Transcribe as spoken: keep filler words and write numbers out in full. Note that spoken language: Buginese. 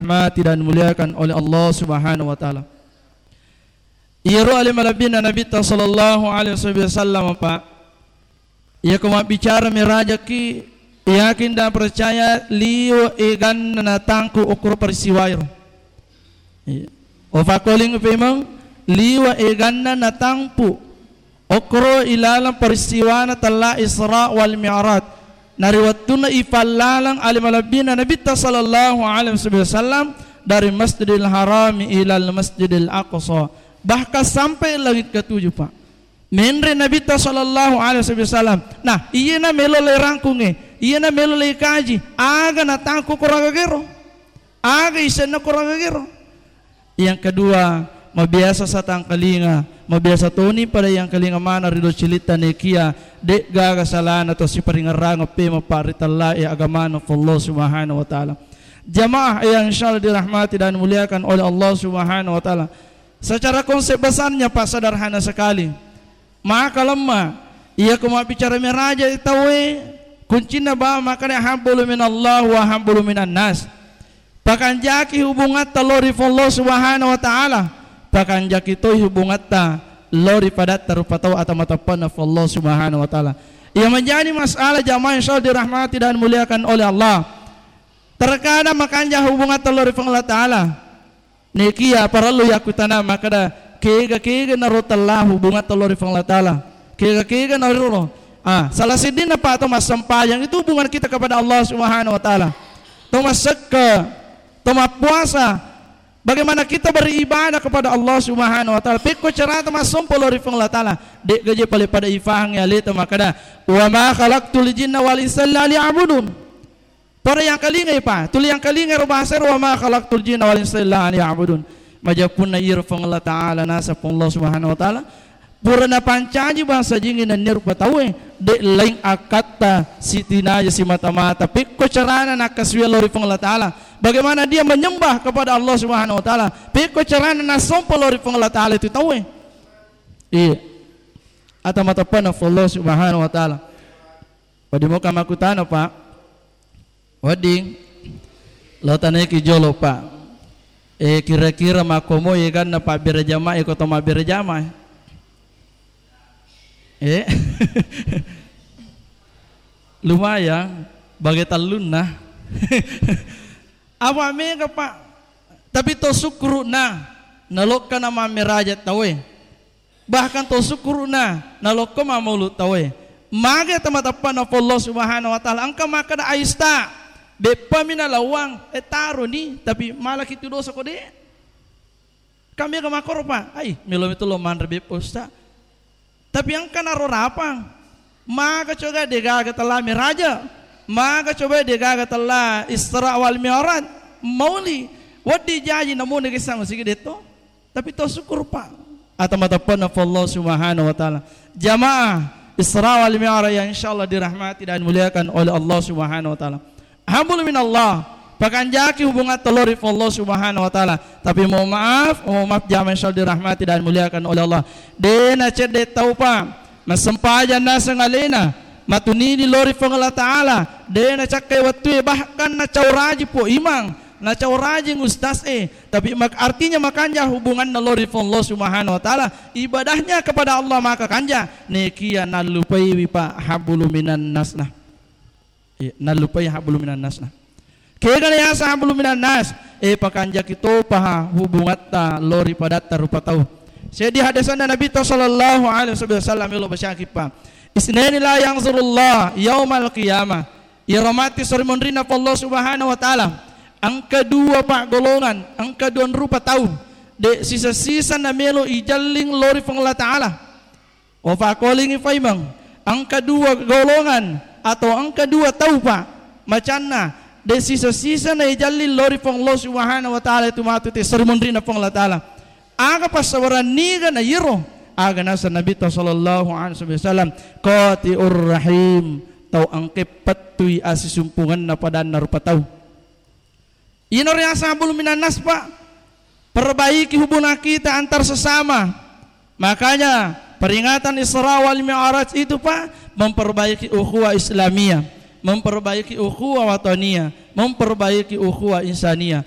dirahmati dan dimuliakan oleh Allah Subhanahu wa Ta'ala. Iyaro ale malebbina Nabitta sallallahu alaihi wasallam, Pak. Iyako mabbicara mirajaki, yakin dan percaya liwa eganna natangku okoro peristiwairo. Iya. Ofakoling pemeng liwa eganna natampu okkoro ilalang peristiwana tella Isra wal Mi'raj. Nari wettunna ifallalang ale malebbina Nabitta sallallahu alaihi wasallam dari Masjidil Harami ilal Masjidil Aqsa. Bahkan sampai langit ketujuh, Pak. Menre Nabitta sallallahu alaihi wasallam. Nah, iyena melo le rangkungnge, iyena melo le kaji, aga natangku koraga gero. Aga isenna koraga gero. Yang kedua, mabiasa satangkalinga, mabiasa toni pada yang kalinga mana rido cilitta nekia, de gaga salana to siparingerrang pema paritallae agamana Allah Subhanahu wa Ta'ala. Jamaah yang insyaallah dirahmati dan dimuliakan oleh Allah Subhanahu wa Ta'ala. Secara konsep besarnya, Pak, sederhana sekali. Maka lemma, iya ko mabbicara meraja tauwe, kuncinna ba makana habbulu minallah wa habbulu minan nas. Pakanjaki hubungatta lao ri Allah Subhanahu wa Ta'ala. Pakanjaki toi hubungatta lao ri padatta rupa tau atau matappanna Allah Subhanahu wa Ta'ala. Iya menjadi masalah jamaah yang selalu dirahmati dan dimuliakan oleh Allah. Terkadang makanja hubungatta lao ri Allah Ta'ala. Nekia parellu yakkutana makkeda, kega-kega naro tella hubungatta lao ri Puang Allah Ta'ala? Kega-kega naro? Ah, salah siddinna pa to massempajang itu hubungan kita kepada Allah Subhanahu wa Ta'ala. To massekke, to mappuasa, bagaimana kita beribadah kepada Allah Subhanahu wa Ta'ala? Pekko carata massompa lao ri Puang Allah Ta'ala? De gaje pale pada ifahang ya leta makkeda, "Wa ma khalaqtul jinna wal insa illa liya'budun." Pada yang kalingai pa, tuli yang kalingai ro bahasa ro, "Wa ma khalaqtul jinna wal insa illa liya'budun." Majappunna iro Puang Allah Ta'ala, nasa Puang Allah Subhanahu wa Ta'ala pura napancaji bangsa jingi nennia rupa tauwe, de laing akkatta sitinaja simata-mata. Pekko carana nakkasuwe lao ri Puang Allah Ta'ala? Bagaimana dia menyembah kepada Allah Subhanahu wa Ta'ala? Pekko carana nassompa lao ri Puang Allah Ta'ala itu tauwe? Iya. Ata matappanna Allah Subhanahu wa Ta'ala. Pada moka makkutana, Pak. Wedding, lo tanaiki jolo, Pak. Eh, kira-kira makkomo eganna pabbere jamaah, iko to mabbere jamaah? Eh? Lumayan, bage tellunna. Apa mega, Pak? Tapi to sukkuruna, nalokka na mammeraja tauwe. Bahkan to sukkuruna nalokko mammaulu tauwe. Mage tama-, tappanna Allah Subhanahu wa Ta'ala. Engka makkeda aista, beppami nalawang, eh, taroni, tapi malaki tu dosa ko de. Kami aga makkoro, Pak. Ai, melo metu lo manre beppa, Ustaz. Tapi engka naro rapang. Maka coba degaga tella meraja. Maka coba degaga tella Isra wal Mi'raj. Mauli. Weddi jaji namune kisang sigi detto. Tapi to syukur, Pak. Ata matappanna Allah Subhanahu wa Ta'ala. Jamaah Isra wal Mi'raj yang insyaallah dirahmati dan dimuliakan oleh Allah Subhanahu wa Ta'ala. Hablum minallah, pakanjaki hubungatta lao ri Allah Subhanahu wa Ta'ala. Tapi mohon maaf, mohon maaf jamaah insyaallah dirahmati dan dimuliakan oleh Allah. De nacedde tau, Pak. Massempajang naseng alena, matunini lao ri Puang Allah Ta'ala, de nacakkai wettue, bahkan nacauraji po imang, nacauraji ustaz e, tapi mak-, artinya makanja hubunganna lao ri Puang Allah Subhanahu wa Ta'ala, ibadahnya kepada Allah maka kanja, nekia nallupaiwi, Pak, hablum minan nasna. Iya, nallupai hablum minan nasna. Kegana yaseng hablum minan nas, eh, pakanjaki topaha hubungatta lao ri padatta rupa tau. Seddi hadesanna Nabitta sallallahu alaihi wasallam, melo bacaki, Pak. Isnaini la yanzurullah yaumal qiyamah. Iyaro matti sori monrinna Allah Subhanahu wa Ta'ala. Engka dua, Pak, golongan, engka dua rupa tau. De sisa-sisa namelo ijalling lao ri Puang Allah Ta'ala. Wafakolingi paimeng, engka dua golongan atau engka dua tau, Pak, macanna, de sisa-sisa naijalli lao ri Puang Allah Subhanahu wa Ta'ala itu matu te seri monrinna Puang Allah Ta'ala. Aga passabaran niga na iyaro? Aga naseng Nabitta sallallahu alaihi wasallam, qati'ur rahim, tau engka pettui asisumpungenna padanna rupa tau. Iyana riaseng hablum minan nas, Pak. Perbaiki hubungan kita antar sesama. Makanya peringatan Isra wal Mi'raj itu, Pak, memperbaiki ukhuwah Islamiyah, memperbaiki ukhuwah wataniyah, memperbaiki ukhuwah insaniyah.